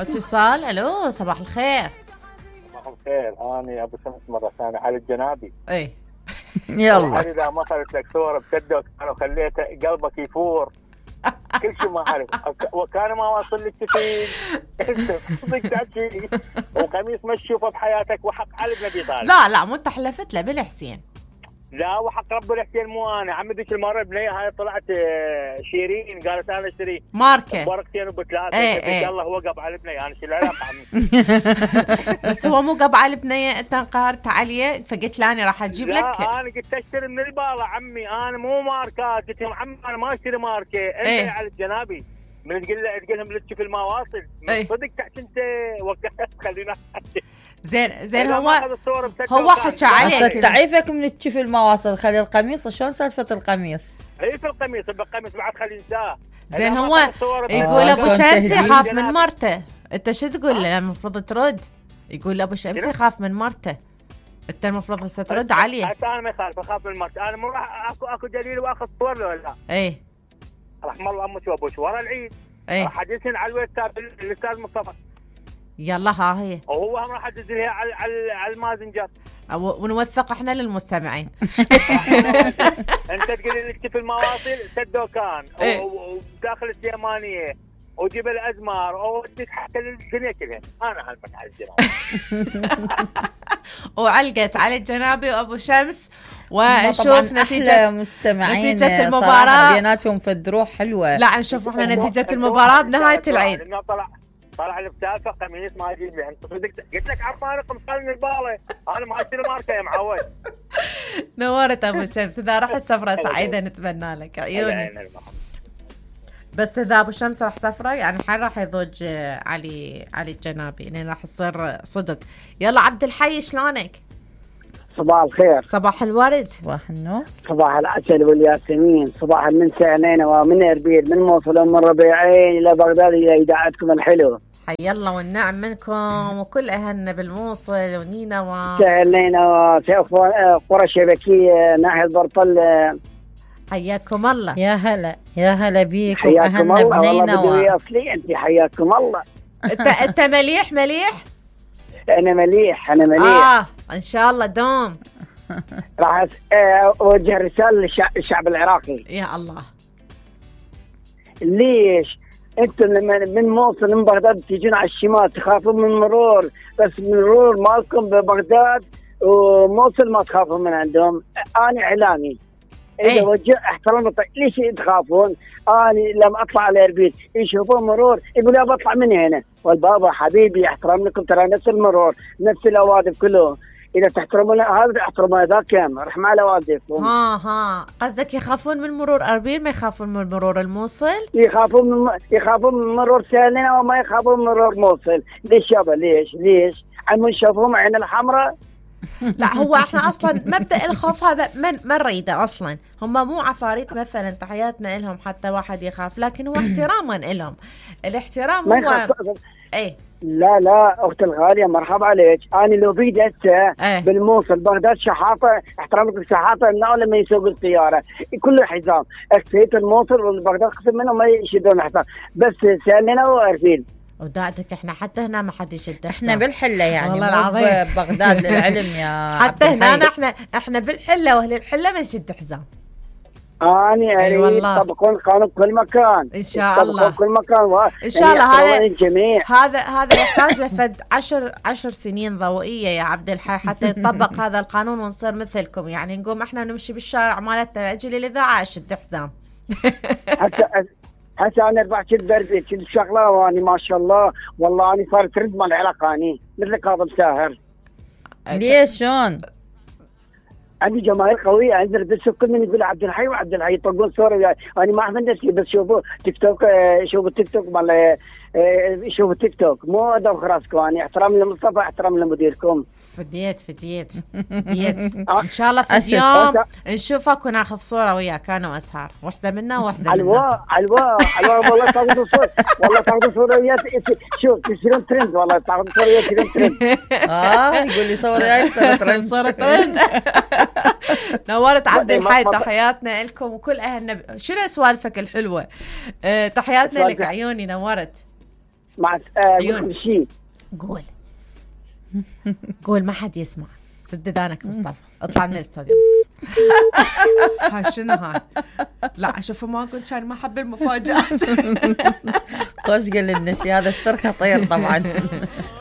اتصال. الو صباح الخير. صباح الخير، أنا أبو شمس مرة ثانية على الجنابي. ايه يلا. إذا ما صارت لك صورة بسدك أنا وخليته قلبك يفور كل شيء ما أعرف، وكان ما واصل لك كثير صدق تحكي وقميص ما تشوفه بحياتك وحق علي بن أبي طالب. لا مو انت حلفت له بالحسين. لا وحق رب الحسين مو أنا عمي ذيك المرة بنية هاي طلعت شيرين قالت أنا اشتري ماركة ورقتين وبثلاثة. ايه. الله هو قب على بنية أنا شو العلاقة عمي. بس هو مو قبع البنية، انت انقهرت عليه فقلت لا انا راح اجيب لك. لا انا قلت اشتري من البالة عمي، انا مو ماركات. قلت لهم عمي انا ما اشتري ماركة. انت ايه. على الجنابي من تقول لهم لتشوف المواصل ايه. صدق تحت انت وقت خلينا زين هو حكى عليك تعيفك من تشوف المواصل. خلي القميص. شلون سالفة القميص؟ هي في القميص بعد خلي انساه. زين هو يقول ابو شمس يخاف من مرته. انت شو تقول له؟ المفروض ترد. يقول ابو شمس يخاف من مرته، انت المفروض هسه ترد عليه. حتى انا ما اخاف من مرته. انا مو راح اكو دليل واخذ صور له ولا ايه رحم الله امك وابوش ورا العيد. ايه راح ادزهن على الواتساب الاستاذ مصطفى. يلا ها هي وهو هم راح ادزلها على المازنجر ونوثق احنا للمستمعين. انت تقول لي في المواصل سدوكان وداخل السيمانيه وجبل ازمار ووديك حتى الدنيا كلها. انا هلمت على الجنابي وعلقت على الجنابي وابو شمس. ونشوف نتيجة المباراة. بيناتهم فدروح حلوة. لا نشوف احنا نتيجة المباراة بنهاية العيد. طلع البتافة قميص ما اجيب لي. انت صدق قلت لك عرفانكم خلني البالة. انا ما اشتري ماركة يا معود. نورت ابو شمس. اذا رحت سفرة سعيدة نتمنى لك عيوني. بس اذا ابو شمس راح سفرة يعني حين راح يضوج علي الجنابي يعني راح يصير صدق. يلا عبد الحي شلونك؟ صباح الخير. صباح الورد. صباح النور. صباح العسل والياسمين. صباح المنسى نينوى من اربيل من موصل ومن ربيعين الى بغداد الى اذاعتكم الحلوه. حي الله والنعم منكم وكل اهلنا بالموصل ونينوى. نينوى قرى الشبكيه ناحيه برطل. حياكم الله. يا هلا يا هلا بيكم. حياكم الله. والله بدوي اصلي انت. حياكم الله. انت مليح. انا مليح. ان شاء الله دوم. راح اوجه رساله للشعب العراقي. يا الله. ليش انتم من موصل من بغداد تيجون على الشمال تخافون من مرور، بس من مرور مالكم ببغداد وموصل ما تخافون من عندهم. انا اعلامي اذا وجه احترام. ليش تخافون؟ انا لما اطلع على اربيل يشوفون مرور يقولوا بطلع من هنا. والبابا حبيبي احترام لكم ترى نفس المرور نفس الاوادم كلهم. اذا تحترمون هذا احترموا ذاك رحمة على والديكم. قصدك يخافون من مرور اربيل ما يخافون من مرور الموصل؟ يخافون من مرور سالنا وما يخافون من مرور موصل. ليش يابا؟ ليش عم نشوفهم عين الحمراء. لا هو احنا اصلا مبدأ الخوف هذا ما نريده اصلا. هم مو عفاريت مثلا تحياتنا لهم حتى واحد يخاف، لكن هو احتراما لهم. الاحترام هو ايه. لا اختي الغاليه مرحبا عليك. انا لو بيدي هسه بالموصل بغداد شحاطه احترام لك الشحاطه انه لما يسوق السياره كله حزام. اكتيت الموصل والبغداد قسم منهم ما يشدون حزام بس سالنا وارفين. وداعتك احنا حتى هنا ما حد يشد حزام. احنا بالحله يعني والله العظيم بغداد للعلم يا حتى هنا احنا بالحله واهل الحله ما نشد حزام. أنا أريد طبقون قانون كل مكان إن شاء الله. كل مكان إن شاء الله. هذا يحتاج لفد 10 سنين ضوئية يا عبد الحي حتى يطبق هذا القانون ونصير مثلكم. يعني نقوم إحنا نمشي بالشارع مالتنا أجي للإذاعة أشد حزام. هسه أنا 4 برد كل شغلة وأنا ما شاء الله والله أنا صارت رد مال العلاقة أني مثل كاظم ساهر. ليش شلون؟ عندي جماهير قويه. عندي بس كل من يقول عبد الحي وعبد الحي يطقون صور. يعني انا ما اعرف نفسي بس شوفوا تيك توك. شوفوا التيك توك مال شوفوا التيك توك مو دوخ راسكم. يعني احترام لمصطفى احترام لمديركم. فديت ان شاء الله في اليوم نشوفك وناخذ صوره وياك انا واسهار. واحده منا وواحده منا. الوا والله تاخذوا صوره. والله تاخذوا صوره وياك. شوف تصيرون ترند. والله تاخذوا صوره وياك تصيرون ترند. يقول لي صوره وياك صوره ترند. نورت عبد الحي. تحياتنا لكم وكل اهلنا. شنو سوالفك الحلوه؟ تحياتنا لك عيوني. نورت. مع عيون. شيء قول قول ما حد يسمع. سد ذانك مصطفى، اطلع من الاستوديو. هاي شنو هاي؟ لا اشوفه ما اقول كان ما حب المفاجآت. خوش قال لنا شي، هذا السر خطير طبعا.